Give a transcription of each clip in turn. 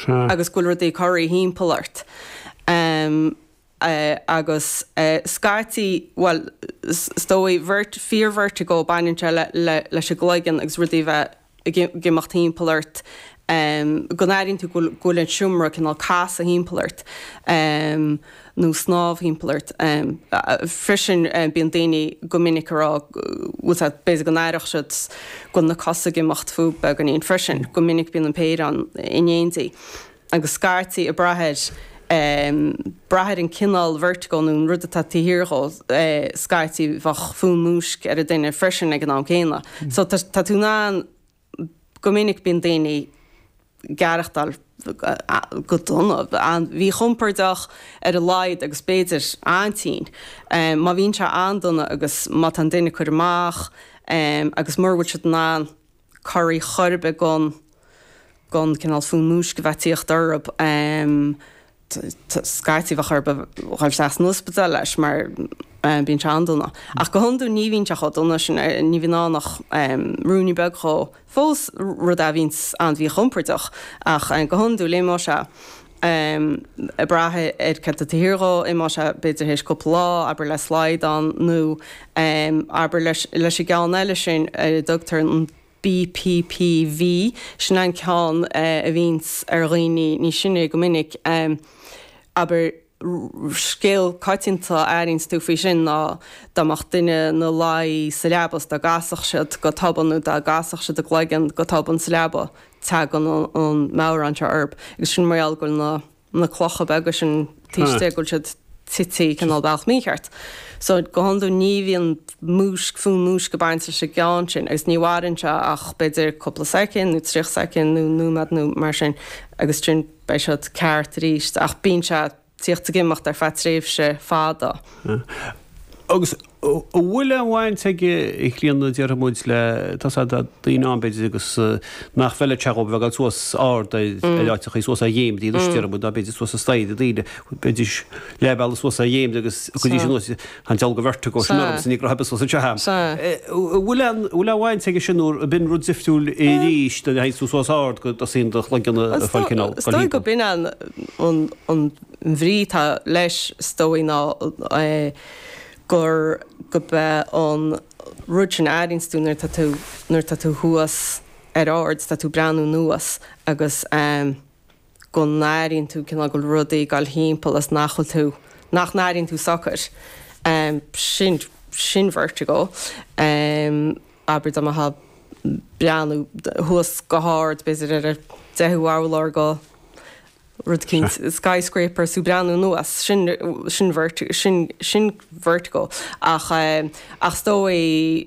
Agus go bhfuil rudaí ag corraí thimpeall ort. Agus scaití, bhuel, is dóigh, fíor-vertigo, baineann sé leis an gcloigeann agus rudaí a bheith ag imeacht thimpeall ort, go n-airíonn tú go bhfuil an seomra cineál casadh thimpeall ort nó snámh thimpeall ort. Freisin bíonn daoine go minic ag rá, bhfuil a fhios agat, b'fhéidir go n-aireodh siad go bhfuil na cosa ag imeacht fúthu beagáinín freisin. Go minic bíonn an péire ann in éindí. Agus scaití ag brath ar, brath ar an cineál vertigo nó an rud atá taobh thiar dhó, scaití bheadh fonn múisc ar an duine freisin ag an am céanna. So tá tú in ann, go minic bíonn daoine ag aireachtáil go dona, an-mhíchompordach ar a laghad agus b'fhéidir an-tinn. Má bhíonn sé an-dona agus má tá an duine ag cur amach agus mura bhfuil siad in ann corraí chor ar bith gan gan cineál fonn múisc a bheith ag tíocht orthu. Scaití bheadh orthu dhul isteach san ospidéal leis mar bíonn sé an-dona. Ach go hiondúil ní bhíonn sé chomh dona sin, ní bhíonn ann ach ruainnín beag dhó. Fós rud a bhíonns an-mhíchompordach ach go hiondúil imeoidh sé ag brath ar céard atá taobh thiar dhó, imeoidh sé b'fhéidir théis cúpla lá, abair le slaghdán nó abair leis an gceann eile sin ar a dtugtar an BPPV, sin an ceann a bhíonns ar dhaoine níos sine go minic. Abair, scéal coitianta a airíonns tú faoi sin ná dá mbeadh duine ina luí sa leaba is dá gcasfadh siad go tobann nó dá gcasfadh siad a gcloigeann go tobann sa leaba, tagann an meabhrán seo orthu. Agus sin mar gheall go bhfuil na. na clocha beaga sin taobh istigh go bhfuil siad tite cineál bealach mícheart. So go hiondúil ní bhíonn múisc, fonn múisc ag baint leis an gceann sin agus ní mhaireann sé ach b'fhéidir cúpla soicind nó 30 soicind nó nóiméad nó mar sin agus ansin beidh siad ceart arís ach bíonn sé ag tíocht ag imeacht ar feadh tréimhse fada. Agus an bhfuil aon bhaint aige, a Chlíona, déarfaidh muid, le, tá a fhios agat, daoine ann, b'fhéidir, agus nach bhfeilfeadh sé dhóibh a bheith ag dul suas ard ar áiteachaí, suas ar dhéin anois, déarfaidh muid, ná b'fhéidir suas an staighre, daoine, b'fhéidir leath bealaigh suas ar dhéin agus go dtí sin anuas, tá an dealg vertigo sin ormsa, ní raibh suas anseo agam. An bhfuil aon, bhfuil aon bhaint aige sin nó ab in rud difriúil arís, nuair a théann tú suas ard go dtosaíonn do chloigeann ag fáil cineál, Is dóigh go b'in an, an bhrí atá leis, is dóigh, ná gur, gurb é an rud sin a airíonns tú nuair atá tú, nuair atá tú thuas ar ard, tá tú ag breathnú anuas agus go n-airíonn tú cineál go bhfuil rudaí ag dul thimpeall is nach bhfuil tú, nach n-airíonn tú socair. Sin, sin vertigo. Abair dá mbeifeá ag breathnú thuas go hard, b'fhéidir ar an deichiú urlár de rud eicínt, skyscraper is tú ag breathnú anuas, sin, sin vertigo, sin, sin vertigo. Ach, ach is dóigh,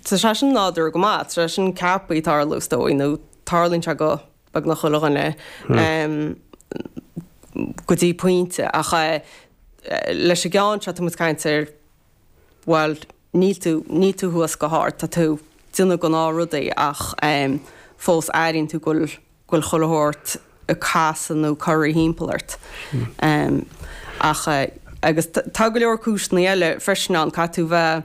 tá sé sin nádúrtha go maith, tá sé sin ceaptha tarlú is dóigh, nó tarlaíonn sé go beagnach chuile dhuine go dtí pointe. Ach leis an gceann seo tá muid ag caint ar, bhuel, níl tú, níl tú thuas go hard, tá tú ag déanamh gnáthrudaí ach fós airíonn tú go bhfuil, go bhfuil chuile shórt ag casadh nó corraí thimpeall ort. Ach, agus tá go leor cúiseanna eile freisin ann, caithfidh tú bheith,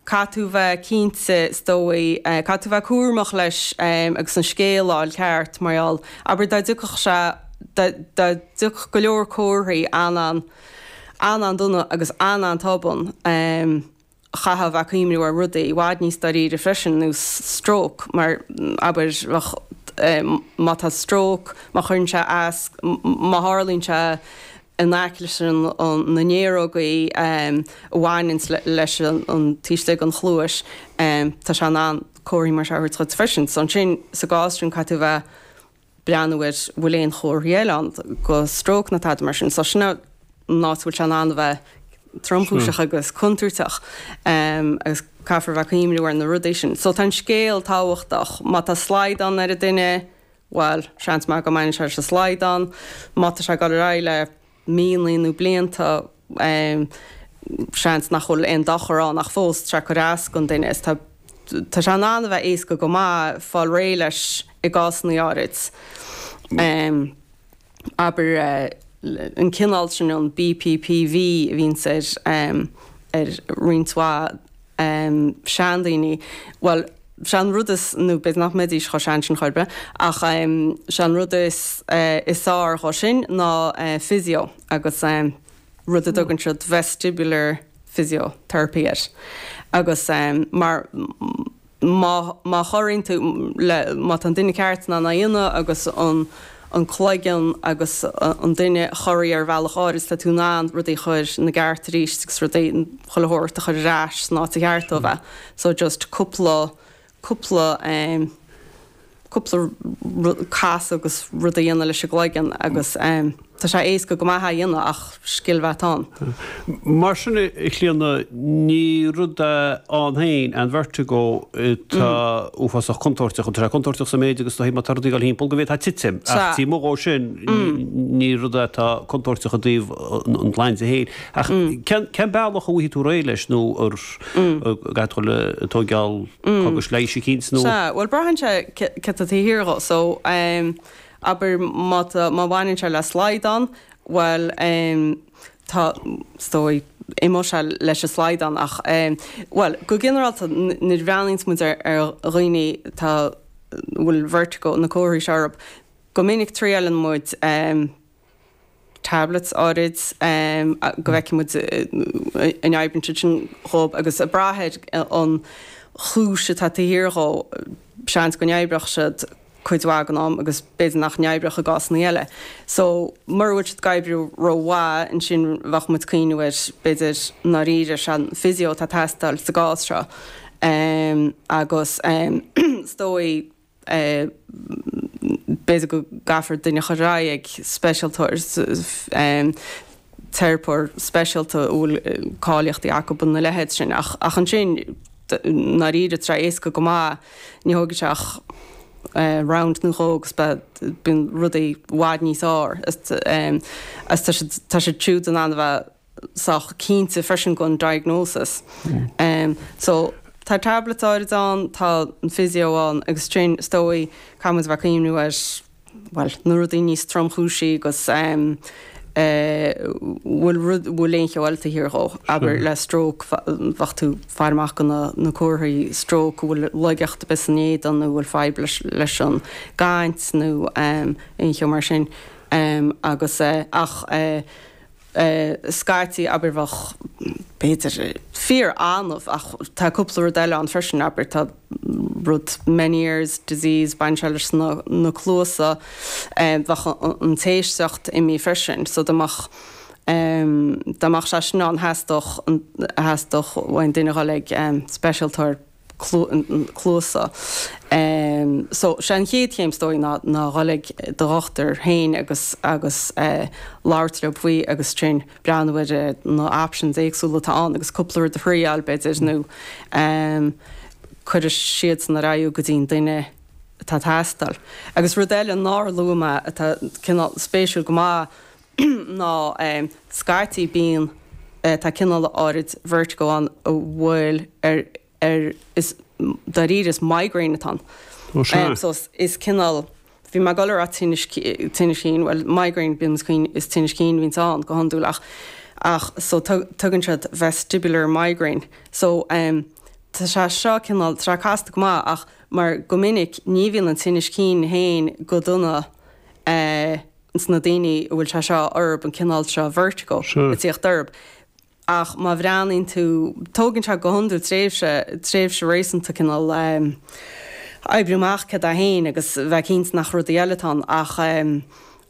caithfidh tú bheith cinnte is dóigh, caithfidh tú bheith cúramach leis agus an scéal a fháil ceart mar gheall, abair dá dtiocfadh sé, dá, dá dtiocfadh go leor comharthaí an-an, an-an-dona agus an-an-tobann, chaithfeá a bheith ag cuimhniú ar rudaí i bhfad níos dáiríre freisin, nós stróc, mar abair, bheadh, má tá stróc, má chuireann sé as, má tharlaíonn sé in aice leis na néarógaí a bhaineanns leis an taobh istigh den chluais, tá sé in ann comharthaí mar seo a thabhairt dhuit freisin. So ansin, sa gcás sin, caithfidh tú a bheith breathnú ar bhfuil aon chomharthaí eile ann de stróc nó tada mar sin. So sin an áit a bhfuil sé in ann a bheith tromchúiseach agus contúirteach agus caithfear a bheith ag cuimhniú ar na rudaí sin. So tá an scéal tábhachtach. Má tá slaghdán ar an duine, bhuel, seans maith go mbaineann sé leis an slaghdán. Má tá sé ag dul ar aghaidh le míonna nó blianta, seans nach bhfuil aon dochar ann ach fós tá sé ag cur as don duine is tá tá sé in ann a bheith éasca go maith fáil réidh leis i gcásanna áirid. Abair an cineál sin an BPPV a bhíonns ar ar roinnt mhaith seandaoine, bhuel. Sé an rud is, nó b'fhéidir nach mbeidís chomh sean sin chor ar bith, ach sé an rud is is fearr dhó sin ná physio agus rud a dtugann siad vestibular physiotherapy air. Agus mar má má chorraíonn tú le, má tá an duine ceart in ann é a dhéanamh agus an an cloigeann agus an duine chorraí ar bhealach áirid, tá tú in ann rudaí a chur ina gceart arís agus rudaí, chuile shórt a chur ar ais san áit a cheart dó a bheith. So just cúpla, cúpla eh cúpla casadh agus rud a dhéanamh leis an gcloigeann agus eh tá sé éasca go maith é a dhéanamh ach scil bheith ann. Mar sin, a Chlíona, ní rud é ann féin an vertigo atá uafásach contúirteach. Tá sé contúirteach sa méid agus má tá rudaí ag dul thimpeall go bhféadfá titim, ach taobh amuigh dhó sin, ní rud é atá contúirteach i dtaobh an tsláinte féin. Ach cén bealach a bhfaighidh tú réidh leis nó ar gcaithfidh tú dul ag tóigeáil cógais leighis eicínt nó? Sea, bhuel braitheann sé céard atá taobh thiar dhó. So, abair má tá, má bhaineann sé le slaghdán, bhuel tá, is dóigh, imeoidh sé leis an slaghdán ach, bhuel, go ginearálta nuair a bhreathnaíonns muid ar dhaoine atá, a bhfuil vertigo, na comharthaí seo orthu, go minic triaileann muid tablets áirid go bhfeicfidh muid an oibríonn siad sin dhób agus ag brath ar an chúis atá taobh thiar dhó, seans go n-oibreodh siad cuid mhaith den am agus b'fhéidir nach n-oibreodh i gcásanna eile. So, mura bhfuil siad ag oibriú rómhaith, ansin bheadh muid ag cuimhneamh ar, b'fhéidir, i ndáiríre, sé an physio atá ag teastáil sa gcás seo. Agus is dóigh, B'fhéidir go gcaithfear duine a chur ar aghaidh ag speisialtóir, teiripeoir speisialta a bhfuil cáilíochtaí acu ina leithéid sin. Ach ansin, i ndáiríre, tá sé éasca go maith, ní thógfaidh sé ach round nó dhó agus beidh, bíonn rudaí i bhfad níos fearr. Agus tá siad siúd in ann a bheith sách cinnte freisin den diagnosis. So, tá tablets áirid ann, tá an physio ann agus ansin is dóigh caithfidh muid a bheith ag cuimhniú ar, bhuel, na rudaí níos tromchúisí agus bhfuil rud, bhfuil aon cheo eile taobh thiar dhó, abair le stroke, bheadh tú ag faire amach do na, na comharthaí stroke, an bhfuil laigeacht ar bith san éadan nó bhfuil fadhb leis, leis an gcaint nó aon cheo mar sin. Agus ach. scaití, abair, bheadh, b'fhéidir, fíor-annamh ach tá cúpla rud eile ann freisin, abair, tá rud Meniere's disease, baineann sé leis na, na cluasa, bheadh an t-éisteacht imithe freisin, so dá mbeadh, dá mbeadh sé sin ann theastódh, theastódh uainn duine a dhul ag speisialtóir. cluasa. So, sé an chéad chéim is dóigh ná ná dhul ag do dhochtúir féin agus agus labhairt leo faoi agus ansin breathnú ar na options éagsúla atá ann agus cúpla rud a thriáil b'fhéidir nó cuirfidh siadsan ar aghaidh go dtí an duine atá ag teastáil. Agus rud eile nár luaigh mé atá cineál spéisiúil go maith ná scaití bíonn tá cineál áirid vertigo ann a bhfuil ar ar is dáiríre is migraine atá ann. Ó sea. So is cineál bhí mé ag dul a rá tinneas tinneas cinn bhuel migraine bíonn cinn is tinneas cinn a bhíonns ann go hiondúil ach ach so tugann siad vestibular migraine so tá sé seo cineál tá sé casta go maith ach mar go minic ní bhíonn an tinneas cinn féin go dona eh ins na daoine a bhfuil sé seo orb, an cineál seo vertigo ag tíocht orb. Ach má bhreathnaíonn tú, tógann sé go hiondúil tréimhse, tréimhse réasúnta cineál oibriú amach céard é féin agus bheith cinnte nach rudaí eile atá ann ach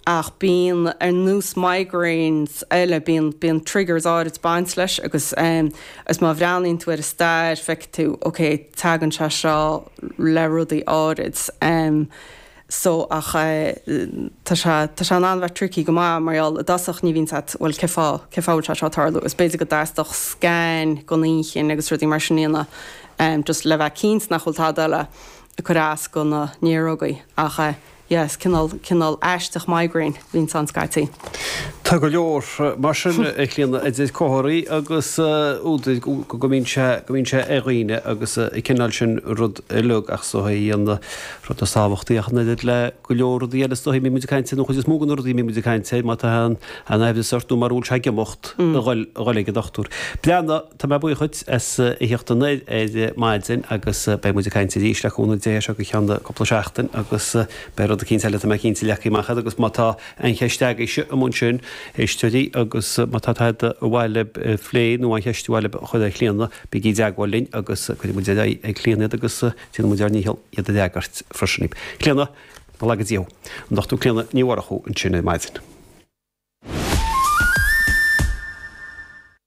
ach bíonn ar nós migraines eile, bíonn, bíonn triggers áirid ag baint leis agus agus má bhreathnaíonn tú ar an stair feicfidh tú ok tagann sé seo le rudaí áirid. so ach tá sé, tá sé in ann a bheith tricky go maith mar gheall i dtosach ní bhíonn a fhios agat bhuel cé fáth, cé fáth bhfuil sé seo ag tarlú agus b'fhéidir go dteastódh scan den inchinn agus rudaí mar sin a dhéanamh just le bheith cinnte nach bhfuil tada eile ag cur as do na néarógaí ach yeah is cineál, cineál aisteach migraine a bhíonns ann scaití. Tá go leor mar sin, a Chlíona, idir comharthaí agus údair go mbíonn sé, go mbíonn sé ar dhaoine agus an cineál sin rud uilig ach is dóigh an rud is tábhachtaí ach an oiread le go leor rudaí eile is dóigh a mbíonn muid ag caint air, nó an chuid is mó de na rudaí a mbíonn muid ag caint air, má tá an aimhreas ort nó mura bhfuil sé ag imeacht, a dhul, a dhul ag an dochtúir. Breathnaigh, tá mé buíoch dhuit as a theacht anoir ar maidin agus beidh muid ag caint arís le cúnamh Dé as seo go ceann cúpla seachtain agus beidh rud eicínt eile tá mé cinnte leagtha amach agat agus má tá Aon cheist agaibhse amuigh ansin, éisteoirí, agus má tá tada ar mhaith libh a phlé nó aon cheist ar mhaith libh a chur ar Chlíona, bígí i dteagmháil linn agus cuirfidh muid ar aghaidh ag Clíona iad agus déanfaidh muid ár ndícheall iad a fhreagairt freisin. Clíona, go laga Dia thú. An Dr Clíona Ní Mhurchú ansin ar maidin.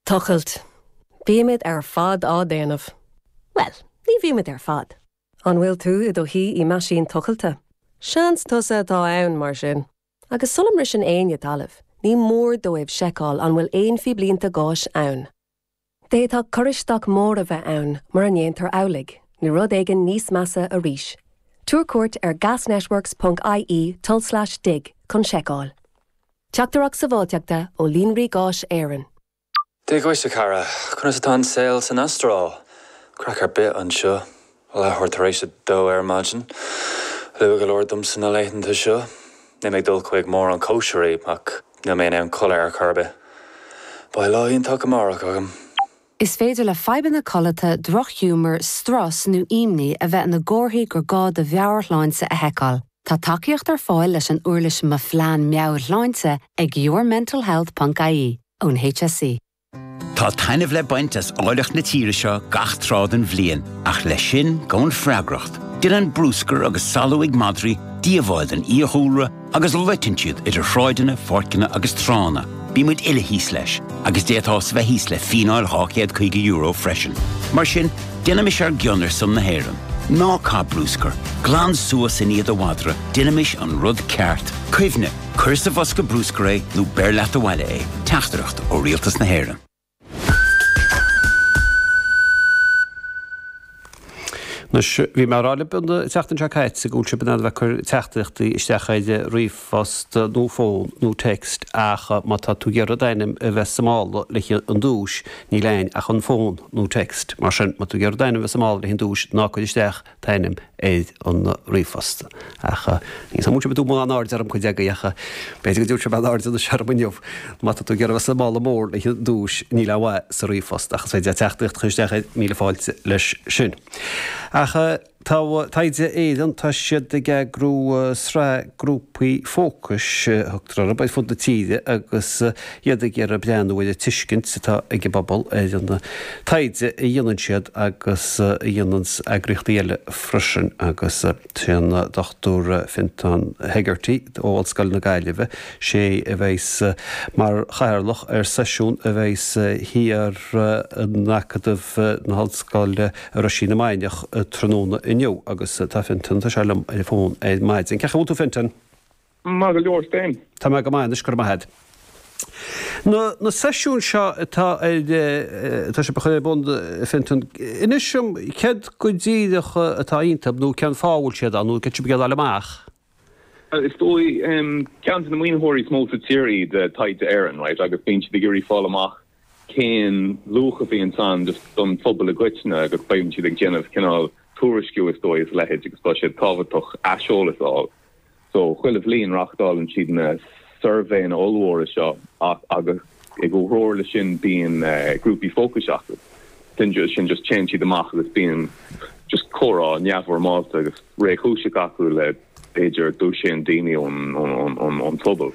Tochailt. Bímid ar fad á déanamh. Bhuel, ní bhímid ar fad. An bhfuil tú i do shuí i meaisín tochailte? Seans tusa atá ann, mar sin. Agus sula mbriseann éinne talamh, ní mór dóibh seiceáil an bhfuil aon phíblínte gáis ann. D'fhéadfadh cur isteach mór a bheith ann mura ndéantar amhlaidh, nó rud éigin níos measa arís. Tabhair cuairt ar gasnetworks ponc ie tulslais dig chun seiceáil. Teachtaireacht Sábháilteachta ó Líonraí Gáis Éireann. Dia dhuit, a chara. Conas atá an saol san Astráil? Craic ar bith anseo. Leathuair tar éis a dó ar maidin. Luath go leor domsa na laethanta seo. Níl mé ag dul chuig mórán cóisirí, ach níl mé in ann codladh ar chor ar bith. Beidh lá iontach amárach agam. Is féidir le fadhbanna codlata, drochghiúmar, strus nó imní a bheith ina gcomharthaí gur gá do mheabhairshláinte a sheiceáil. Tá tacaíocht ar fáil leis an uirlis Mo Phlean Meabhairshláinte ag yourmentalhealth ponc ie ón HSE. Tá taitneamh le baint as áilleacht na tíre seo gach tráth den bhliain, ach leis sin gabhann freagracht. Déanann bruscar agus salú ag madraí díobháil don fhiadhúlra agus loiteann siad idir shráideanna, pháirceanna agus tránna. Bíonn muid uile thíos leis, agus d'fhéadfá a bheith thíos le fíneáil €250 freisin. Mar sin, déanaimis ár gcion ar son na hÉireann. Ná caith bruscar, glan suas i ndiaidh do mhadra, déanaimis an rud ceart. Cuimhnigh, cuir sa bhosca bruscair é nó beir leat abhaile é. Teachtaireacht ó Rialtas na hÉireann. Anois, bhí mé ag rá libh an tseachtain seo caite go bhfuil sibh in ann a bheith ag cur teachtaireachtaí isteach ar ríomhphost nó fón nó text ach má tá tú ag iarraidh d'ainm a bheith sa mála le haghaidh an duais, níl ann ach an fón nó text. Mar sin, má tá tú ag iarraidh d'ainm a bheith sa mála le haghaidh an duais, ná cuir isteach t-ainm ar an ríomhphost. Ach ní an bhfuil sibh ag tabhairt mórán airde orm cuid agaibh ach b'fhéidir go dtabharfaidh sibh an-aird anois orm inniu. Má tá tú ag iarraidh a bheith sa mála mór le haghaidh an duais, níl aon mhaith sa ríomhphost ach is féidir leat teachtaireacht a chur isteach air, míle fáilte leis sin. Ach tá Taighde Éireann, tá siad ag eagrú sraith grúpaí fócais, a thugtar orthu, ar fud na tíre agus iad ag iarraidh breathnú ar an tuiscint atá ag an bpobal ar an taighde a dhéanann siad agus a dhéanann eagraíochtaí eile freisin agus sé an Dr Fintan Hegarty ó Ollscoil na Gaillimhe, sé a bheas mar chathaoirleach ar seisiún a bheas thiar in Acadamh na hOllscoile i Roisín na Mainiach tráthnóna inniu agus tá Fintan, tá sé liom ar an bhfón ar maidin. Cén chaoi a bhfuil tú Fintan? Maith go leor, 's féin? Tá mé go maith anois, go raibh maith agat. Na, na seisiúin seo atá ar, atá sibh a chur ar bun, Fintan, inis dom céard go díreach atá iontu nó cén fáth a bhfuil siad ann nó céard sibh ag iarraidh a fháil amach? Is dóigh, ceann de na maoinitheoirí is mó sa tír iad Taighde Éireann, right, agus bíonn siad ag iarraidh fáil amach cén luach a bhíonn ann just don phobal i gcoitinne agus bíonn siad ag déanamh cineál tuairisciú is dóigh is a leithéid agus tá sé tábhachtach aiseolas a fháil. So, chuile bhliain reachtálann siad na suirbhéanna ollmhóra seo ach agus i gcomhthreomhar le sin bíonn grúpaí fócais acu. Sin sin just téann siad amach agus bíonn just comhrá neamhfhoirmeálta agus réchúiseach acu le b'fhéidir dosaen daoine ón ón ón ón phobal.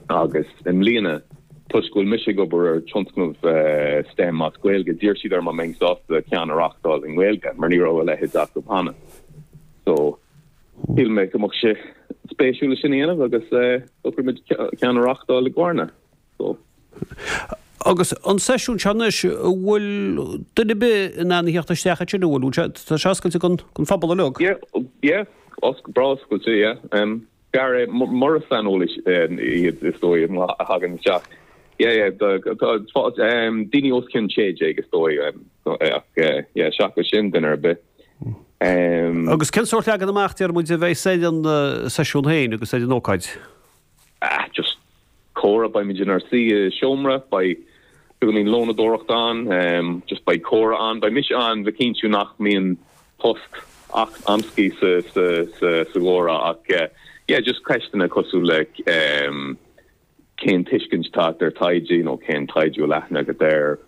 Agus i mbliana, toisc go bhfuil mise ag obair ar tionscnamh STEM as Gaeilge, d'iarr siad orm an mbeinn sásta ceann a reachtáil i nGaeilge mar ní raibh a leithéid acu cheana. So, Shíl mé go mbeadh sé spéisiúil sin a dhéanamh agus shocraigh muid ceann a reachtáil i gCarna. So. Agus an seisiún seo anois, an bhfuil duine ar bith in ann a theacht isteach ansin, an bhfuil? Bhfuil sé, tá sé oscailte don phobal uilig? Yeah, yeah, breá oscailte, yeah. B'fhearr é mura saineolaí iad is dóigh a thagann isteach. Yeah, yeah, tá daoine os cionn 16 is dóigh ach yeah, seachas sin duine ar bith. Agus cén sórt leagan amach, deir muid, a bheas ar an seisiún féin agus ar an ócáid? Ah, just. comhrá, beimid inár suí i seomra, beidh beagáinín lónadóireacht ann, just beidh comhrá ann, beidh mise ann le cinntiú nach mbíonn post amscaí sa sa sa sa gcomhrá ach yeah just ceisteanna cosúil le cén tuiscint atá agat ar taighde, you know cén taighde a bhfuil aithne agat air,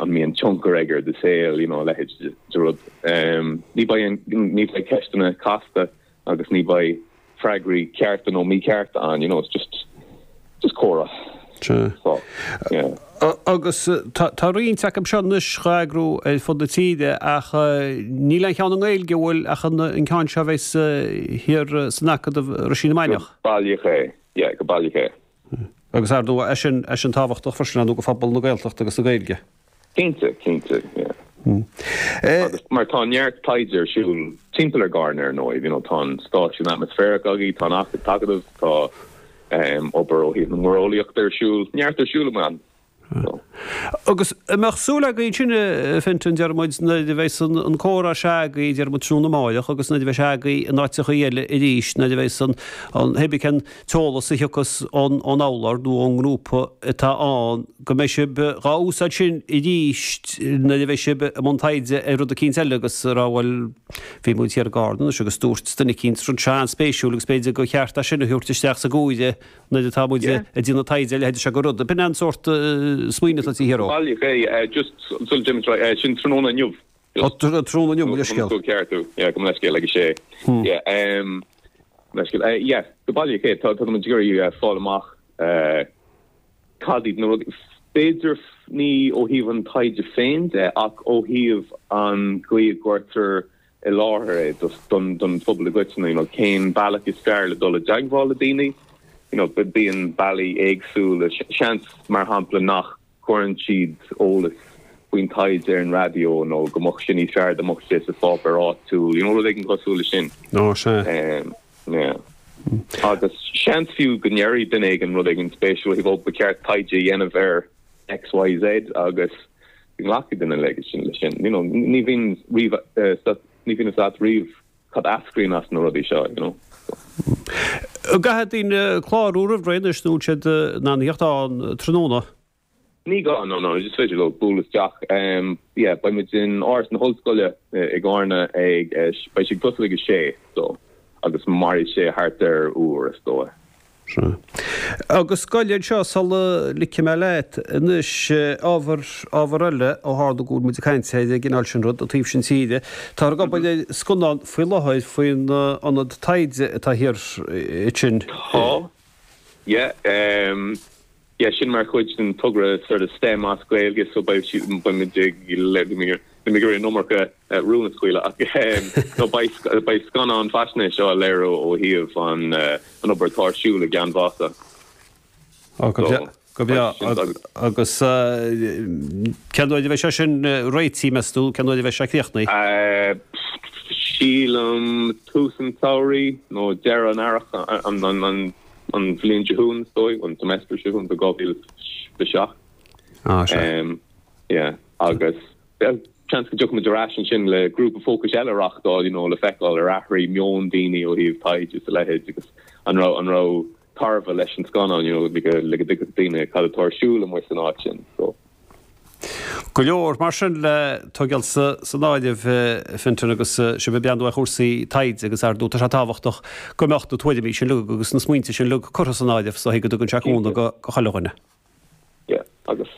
an mbíonn tionchar aige ar do shaol, you know a leithéid de rud. Ní beidh ní bheidh ceisteanna casta agus ní bheidh freagraí cearta nó míchearta ann, you know, it's just, just comhrá. Sea. So, yeah. Agus tá roinnt acu seo anois dhá eagrú ar fud na tíre ach níl aon cheann i nGaeilge, an bhfuil, ach an ceann seo a bheas thiar san Acadamh i Roisín na Mainiach. Go baileach é, yeah, go baileach é. Agus ar ndóigh, é sin, é sin tábhachtach freisin, ar ndóigh, do phobal na Gaeltachta agus na Gaeilge. Cinnte, cinnte, yeah. Agus mar tá neart taighde ar siúl timpeall ar Carna ar ndóigh, you know, tá an stáisiún atmaisféarach agaibh, tá an tAcadamh, tá obair ó thaobh na muireolaíochta ar siúl, neart ar siúl amuigh ann. So. Agus an mbeadh súil agaibh ansin, a Fintan, deir muid, nuair a bheas an comhrá seo agaibh, deir muid, tráthnóna amáireach agus nuair a bheas sé agaibh in áiteachaí eile arís, nuair a bheas an, an, hé bí cén t-eolas a thiocfas ón urlabhra nó ón ngrúpa atá ann, go mbeidh sibh dhá úsáid sin arís nuair a bheidh sibh i mbun taighde ar rud eicínt eile agus a rá bhuel bhí muid thiar i gCarna anois agus dúirt duine eicínt rud seo an-spéisiúil agus b'fhéidir gur cheart é sin a thabhairt isteach sa gcomhrá nuair atá muid ag déanamh taighde ar leithéid seo de rud. B'in an sórt smaoineamh atá taobh thiar Go baileach é, just sula dtéimid ar aghaidh, sin tráthnóna inniu. Ó, tráthnóna inniu, mo leithscéal. Go ceart, yeah, go leithscéal ag a sé. Yeah, leithscéal. Yeah, go baileach é, tá muid ag iarraidh fáil amach Cad iad na rudaí, b'fhéidir ní ó thaobh an taighde féin de ach ó thaobh an gcaoi a gcuirtear i láthair é don phobal i gcoitinne, you know, cén bealach is fearr le dul i dteagmháil le daoine, you know, bíonn bealaí éagsúla, seans mar shampla nach gcuireann siad eolas faoin taighde ar an raidió nó go mbeadh sé níos fearr dá mbeadh sé sa pháipéar áitiúil, you know, rud éigin cosúil leis sin. Ó, sea. Yeah. Agus seans fiú go ndéarfaidh duine éigin rud éigin spéisiúil ó thaobh, ó, ba cheart taighde a dhéanamh ar X, Y, Z agus go nglacfaidh duine leis sin. You know, ní bhíonn riamh, ní bhíonn fhios agat riamh cad a eascraíonn as na rudaí seo, you know. An gcaithfidh daoine clárú roimh ré anois nó bhfuil siad in ann a theacht ann tráthnóna? Ní gá, no, no, is féidir leo bualadh isteach. Yeah, beidh muid in Áras na hOllscoile i gCarna ag, beidh sé ag tosú ag a sé, so, agus mairfidh sé thart ar uair, is dóigh. Sea. Agus gabh anseo sula ligfidh mé leat anois, ábhar, ábhar eile ó tharla go bhfuil muid ag caint ar an gcineál sin rud, an taobh sin tíre, táthar ag obair ar scannán faoi láthair faoin ionad taighde atá thiar ansin. Tá, yeah. Yeah, sin mar chuid den togra sort of STEM as Gaeilge so beidh siad, beidh muid ag, níl mé ag iarraidh an iomarca rún a scaoileadh ach no beidh, beidh scannán faisnéise á léiriú ó thaobh an, an obair atá ar siúl i gCeann Mhasa. Ó, go breá, go breá. Agus cén uair a bheidh sé sin réitithe, meas tú, cén uair a bheidh sé críochnaithe? Sílim tús an tsamhraidh nó deireadh an earrach, an, an, an, an bhliain seo chugainn, is dóigh, an semester seo chugainn, 2007. Ah, sea. Yeah, agus seans go dtiocfaidh muid ar ais ansin le grúpa fócais eile a reachtáil, you know, le feiceáil ar athraigh meon daoine ó thaobh taighde is a leithéid agus an raibh, an raibh tairbhe leis an scannán, you know, le go, le go dtuigfeadh daoine cad atá ar siúl amuigh san áit sin, so. Go leor mar sin le tógáil san áireamh, Fintan, agus sibh ag breathnú ar chúrsaí taighde agus ar ndóigh tá sé tábhachtach go mbeadh na tuairimí sin uilig agus na smaointe sin uilig curtha san áireamh so go dtugann sé cúnamh do chuile dhuine. Yeah, agus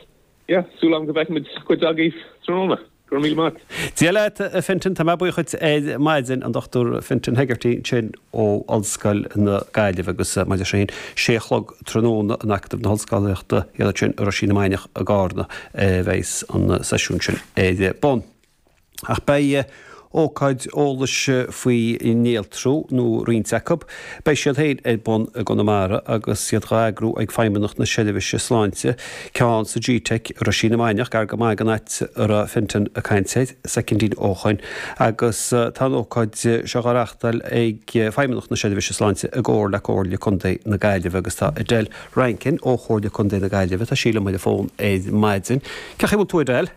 yeah, súil agam go bhfeicfimid cuid agaibh tráthnóna. Go raibh míle maith. Dia leat, a Fintan. Tá mé buíoch dhuit ar maidin, an Dr Fintan Hegarty ansin ó Ollscoil na Gaillimhe agus maidir leis sin, sé a chlog tráthnóna in Acadamh na hOllscolaíochta, iad ansin i Roisín na Mainiach i gCarna a bheas an seisiún sin ar bun. Ach beidh ócáid eolais faoi néaltrú, nó roinnt acu, beidh siad féin ar bun i gConamara agus iad dhá eagrú ag Feidhmeannacht na Seirbhíse Sláinte, ceann sa G-Teic i Roisín na Mainiach, gar go maith don áit a raibh Fintan ag caint air soicindín ó shoin, agus tá an ócáid seo dhá reachtáil ag Feidhmeannacht na Seirbhíse Sláinte i gcomhar le Comhairle Contae na Gaillimhe agus tá Edel Rankin ó Chomhairle Contae na Gaillimhe, tá sí liom ar an bhfón ar maidin. Cén chaoi a bhfuil tú Edel?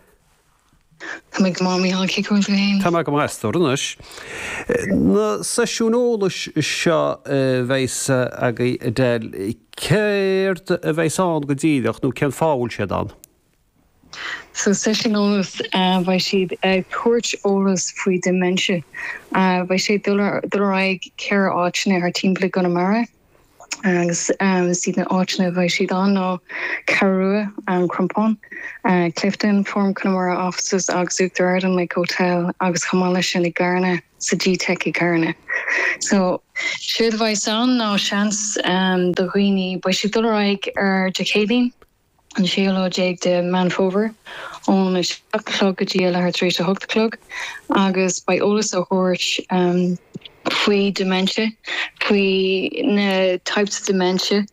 Tá mé go maith, Mícheál, cén chaoi a bhfuil tú féin? Tá mé go maith, a stór anois. Na seisiúin eolais seo a bheas agaibh, Edel, céard a bheas ann go díreach nó cén fáth a bhfuil siad ann? So, seisiún eolais, beidh siad ag tabhairt eolas faoi dementia. Beidh sé ag dul ar aghaidh ceithre áiteanna thar timpeall i gConamara. Agus is iad na áiteanna a bheidh siad ann ná Ceathrú Rua, An Crompán, Clifden, Fóram Conamara Offices agus Uachtar Ard an Lake Hotel agus chomh maith leis sin i gCarna, sa G-Teic i gCarna. So, séard a bheas ann ná seans do dhaoine, beidh siad dul ar aghaidh ar Dé Céadaoin, an séú lá déag de Meán Fómhair ón 7 a chlog go dtí a leathuair tar éis a hocht a chlog agus beidh eolas á thabhairt faoi dementia, faoi na types of dementia.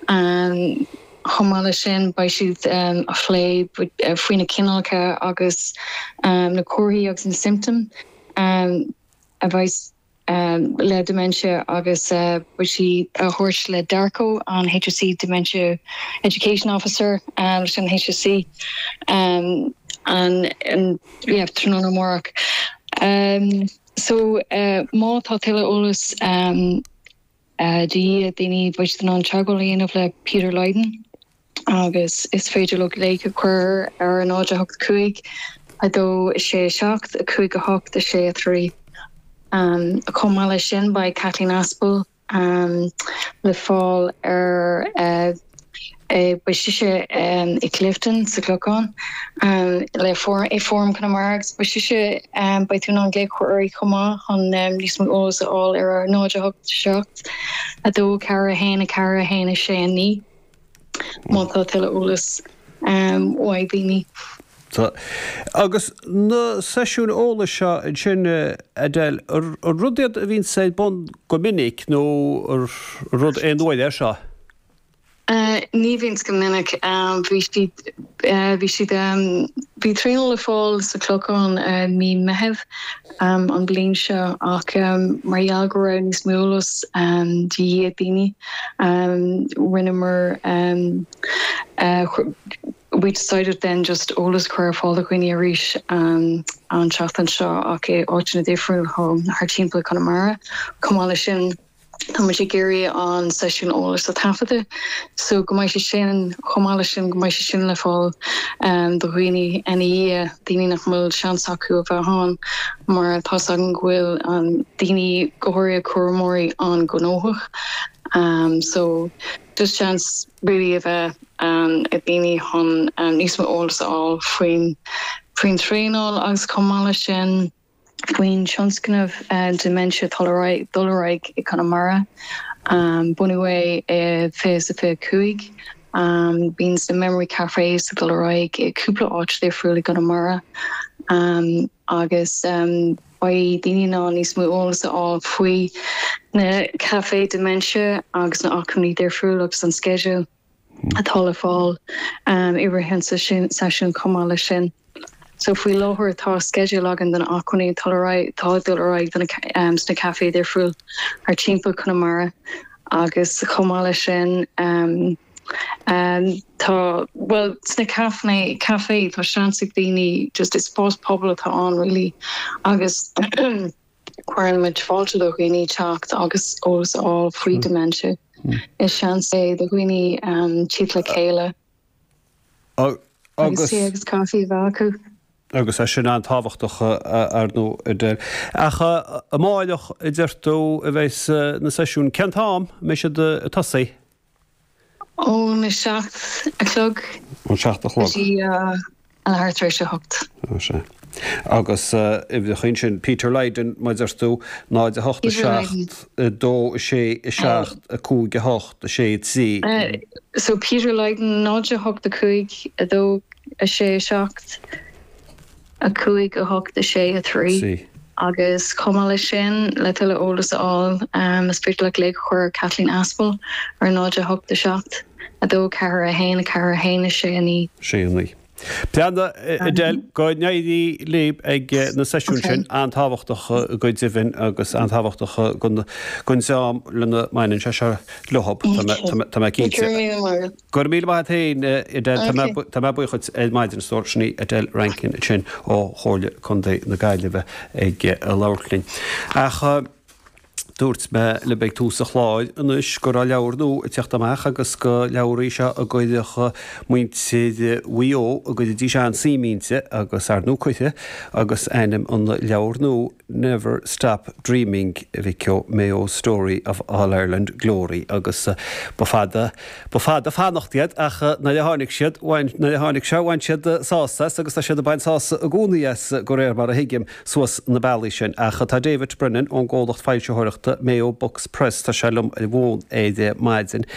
Chomh maith leis sin beidh siad á phlé faoi na cineálacha agus na comharthaí agus na symptoms a bheas le dementia agus beidh sí á thabhairt le Darko, an HSE Dementia Education Officer leis an HSE an yeah tráthnóna amárach. So má tá tuilleadh eolas de dhíth ag daoine beidh siad in ann teagmháil a dhéanamh le Peter Lydon. agus is féidir leo glaoch a chur ar 0 8 5 2 6 7 5 8 6 3. Chomh maith leis sin, beidh Kathleen Aspel le fáil ar beidh sise i Clifden sa Chlochán le i Fóram Conamara agus beidh sise beidh tú in ann glaoch a chur uirthi chomh maith chun níos mó eolas a fháil ar 0 8 7 2 4 1 4 1 6 9. má tá tuilleadh eolas uaidh daoine. Agus na seisiúin eolais seo ansin, Edel, an rud iad a bhíonns ar bun go minic nó rud aon uaire é seo? Ní bhíonns go minic. Bhí siad, bhí siad, bhí traenáil le fáil sa Chlochán mí Meitheamh an bhliain seo ach mar gheall go raibh níos mó eolas de dhíth ag daoine, rinneamar we decided then just eolas a chur ar fáil do dhaoine arís an tseachtain seo ach i áiteanna difriúla thar timpeall Conamara. Chomh maith leis sin, Tá muid ag iarraidh an seisiún eolais a thaifeadadh so go mbeidh sé sin, chomh maith leis sin, go mbeidh sé sin le fáil do dhaoine ina dhiaidh, daoine nach bhfuil seans acu a bheith ann mar tá's againn go bhfuil daoine, go háirithe cúramóirí, an-ghnóthach so just seans really a bheith ag daoine chun níos mó eolas a fháil faoin faoin traenáil agus chomh maith leis sin. faoin tionscnamh Dementia atá ag dul ar aghaidh i gConamara. Bunaíodh é i 2025. Bíonn na Memory Cafés ag dul ar aghaidh i cúpla áit difriúil i gConamara agus beidh daoine in ann níos mó eolas a fháil faoi na Café Dementia agus na acmhainní difriúil agus an sceideal. atá le fáil i rith an seisiúin chomh maith leis sin. So faoi láthair tá sceideal againn de na acmhainní atá atá ag dul ar aghaidh do na sna caifé difriúil thar timpeall Chonamara agus chomh maith leis sin tá bhuel sna caifé caifé tá seans ag daoine just is spás pobail atá ann really agus Cuireann muid fáilte do dhaoine teacht agus eolas a fháil faoi dementia. Is seans é do dhaoine teacht le chéile agus tae agus caife a bheith acu. Agus é sin an-tábhachtach, ar ndóigh, Edel. Ach amáireach, a deir tú, a bheas na seisiúin. Cén t-am a mbeidh siad ag tosaí? Ón 7 a chlog. Ón 7 a chlog. Go dtí a leathuair tar éis a hocht. Ó sea. Agus uimhreacha ansin, Peter Lydon, mar a deir tú, 0 8 7 2 6 7 5 8 6 3. So Peter Lydon, 0 8 5 2 6 7. 5, 8, 6, 3. Agus chomh maith leis sin, le tuilleadh eolas a fháil, is féidir leat glaoch a chur ar Kathleen Aspel ar 0 8 7 2 4 1 4 1 6 9. 6 9. Breathnaigh, Edel, go n-éirí libh ag na seisiúin sin, an-tábhachtach go deimhin agus an-tábhachtach don dream lena mbaineann sé seo leo, tá mé cinnte. Go raibh míle maith agat. Go raibh míle maith agat féin, Edel. Tá mé buíoch duit ar maidin, a stór. Sin í Edel Rankin ansin ó Chomhairle Contae na Gaillimhe ag labhairt linn. Ach. Dúirt mé libh ag tús an chláir anois go raibh leabhar nua ag teacht amach agus gur leabhar í seo a gcuirfeadh muintir Mhaigh Eo, a gcuirfidís an-suim inti agus ar ndóigh cuirfidh agus ainm an leabhair nua Never Stop Dreaming, a mhic ó, Mayo's Story of All-Ireland Glory agus ba fada, ba fada fanacht iad ach nuair a tháinig siad, bhain, nuair a tháinig sé, bhain siad sásamh as agus tá siad ag baint sásamh i gcónaí as, de réir mar a thuigim. suas na bealaí sin. Ach tá David Brennan ón gcomhlacht foilsitheoireachta Mayo Books Press, tá sé liom ar an bhfón ar maidin.